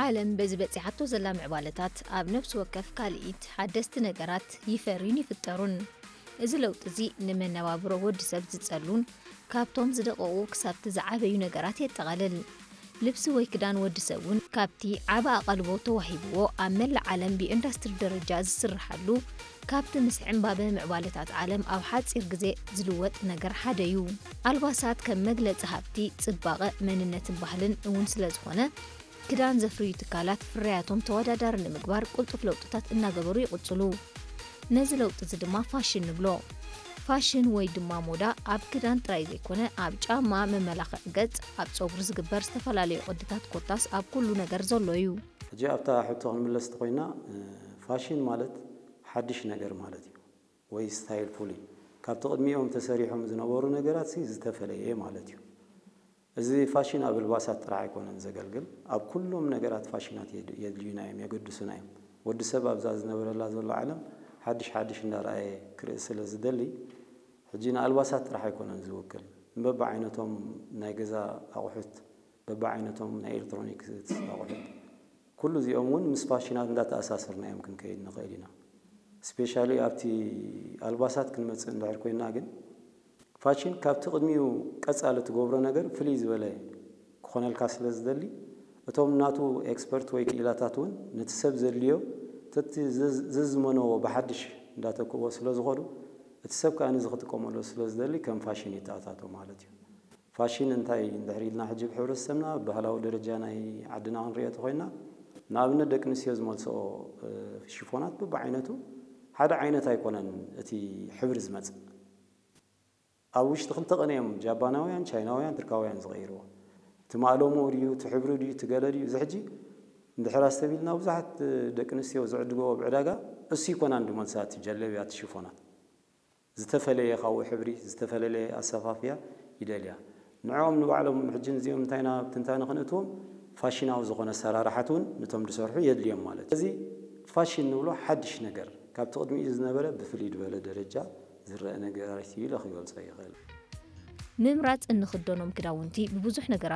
ዓለም በዚ በጺሓቶ ዘላ ምዕባለታት ኣብ ነፍሲ ወከፍ ካልኢት ሓደስቲ ነገራት ይፈርዩን ይፍጠሩን። እዚ ለውጢ እዚ ንመነባብሮ ወዲ ሰብ ዝጸሉን ካብቶም ዝደቐቑ ክሳብቲ ዝዓበዩ ነገራት የጠቓልል። ልብሲ ወይ ክዳን ወዲ ሰብ እውን ካብቲ ዓቢ ኣቓልቦ ተዋሂብዎ ኣብ መላእ ዓለም ብኢንዳስትሪ ደረጃ ዝስርሓሉ ካብቲ ምስ ዕምባበ ምዕባለታት ዓለም ኣብ ሓጺር ግዜ ዝልወጥ ነገር ሓደ እዩ። ኣልባሳት ከም መግለጺ ሃብቲ፣ ጽባቐ፣ መንነትን ባህልን እውን ስለ ዝኾነ ክዳን ዘፍርዩ ትካላት ፍርያቶም ተወዳዳሪ ንምግባር ቅልጡፍ ለውጥታት እናገበሩ ይቕጽሉ። ነዚ ለውጢ እዚ ድማ ፋሽን ንብሎ። ፋሽን ወይ ድማ ሞዳ ኣብ ክዳን ጥራይ ዘይኮነ ኣብ ጫማ፣ መመላኽዒ ገጽ፣ ኣብ ጸጉሪ ዝግበር ዝተፈላለዩ ቅድታት ኮታስ ኣብ ኩሉ ነገር ዘሎ እዩ። ሕጂ ኣብታ ሕቶ ክንምለስ እንተኾይና ፋሽን ማለት ሓድሽ ነገር ማለት እዩ ወይ ስታይል ፍሉይ ካብቲ ቅድሚኦም ተሰሪሖም ዝነበሩ ነገራት ሲ ዝተፈለየ ማለት እዩ። እዚ ፋሽን ኣብ ኣልባሳት ጥራሕ ኣይኮነን ዘገልግል፣ ኣብ ኩሎም ነገራት ፋሽናት የድልዩና እዮም፣ የገድሱና እዮም። ወዲ ሰብ ኣብዛ ዝነብረላ ዘሎ ዓለም ሓድሽ ሓድሽ እንዳረኣየ ክርኢ ስለ ዝደሊ ሕጂ ንኣልባሳት ጥራሕ ኣይኮነን ዝውክል፣ ንበብዓይነቶም ናይ ገዛ ኣቑሑት፣ በብዓይነቶም ናይ ኤሌክትሮኒክስ ኣቑሑት፣ ኩሉ እዚኦም እውን ምስ ፋሽናት እንዳተኣሳሰርና እዮም ክንከይድ ንኽእል ኢና። ስፔሻሊ ኣብቲ ኣልባሳት ክንመፅእ እንድሕር ኮይና ግን ፋሽን ካብቲ ቅድሚኡ ቀፃሊ ትገብሮ ነገር ፍልይ ዝበለ ክኾነልካ ስለ ዝደሊ እቶም ናቱ ኤክስፐርት ወይ ክኢላታት እውን ነቲ ሰብ ዘድልዮ ተቲ ዘዝመነዎ ብሓድሽ እንዳተክእዎ ስለ ዝኾኑ እቲ ሰብ ከዓ ነዚ ክጥቀመሉ ስለ ዝደሊ ከም ፋሽን ይተኣታቶ ማለት እዩ። ፋሽን እንታይ እንድሕር ኢልና ሕጂ ብሕብረተሰብና ብባህላዊ ደረጃ ናይ ዓድና ክንሪኦ ተኾይና ንኣብነት ደቂ ኣንስትዮ ዝመልስኦ ሽፎናት ብብዓይነቱ ሓደ ዓይነት ኣይኮነን እቲ ሕብሪ ዝመፅእ ኣብ ውሽጢ ክልተ ቀን እዮም ጃባናውያን ቻይናውያን ትርካውያን ዝቐይርዎ እቲ ማእለሞ ድዩ እቲ ሕብሪ ድዩ እቲ ገለ ድዩ እዚ ሕጂ እንድሕር ኣስተቢልና ብዙሓት ደቂ ኣንስትዮ ዝዕድገዎ ብዕዳጋ እሱ ይኮናን ድመልሳ እቲ ጀለብያ እቲ ሽፎናት ዝተፈለየ ካብኡ ሕብሪ ዝተፈለለየ ኣሰፋፍያ ይደልያ ንዕኦም ንባዕሎም ሕጂ እዚኦም እንታይና ትንታነ ክንእትዎም ፋሽናዊ ዝኾነ ኣሰራርሓት እውን ነቶም ዝሰርሑ የድልዮም ማለት እዚ ፋሽን ንብሎ ሓድሽ ነገር ካብቲ ቅድሚኡ ዝነበረ ብፍልይ ዝበለ ደረጃ ዝረአ ነገራት እዩ ኢለ ክገልጾ ይኽእል። ምምራጽ እንኽደኖም ክዳውንቲ ብብዙሕ ነገራት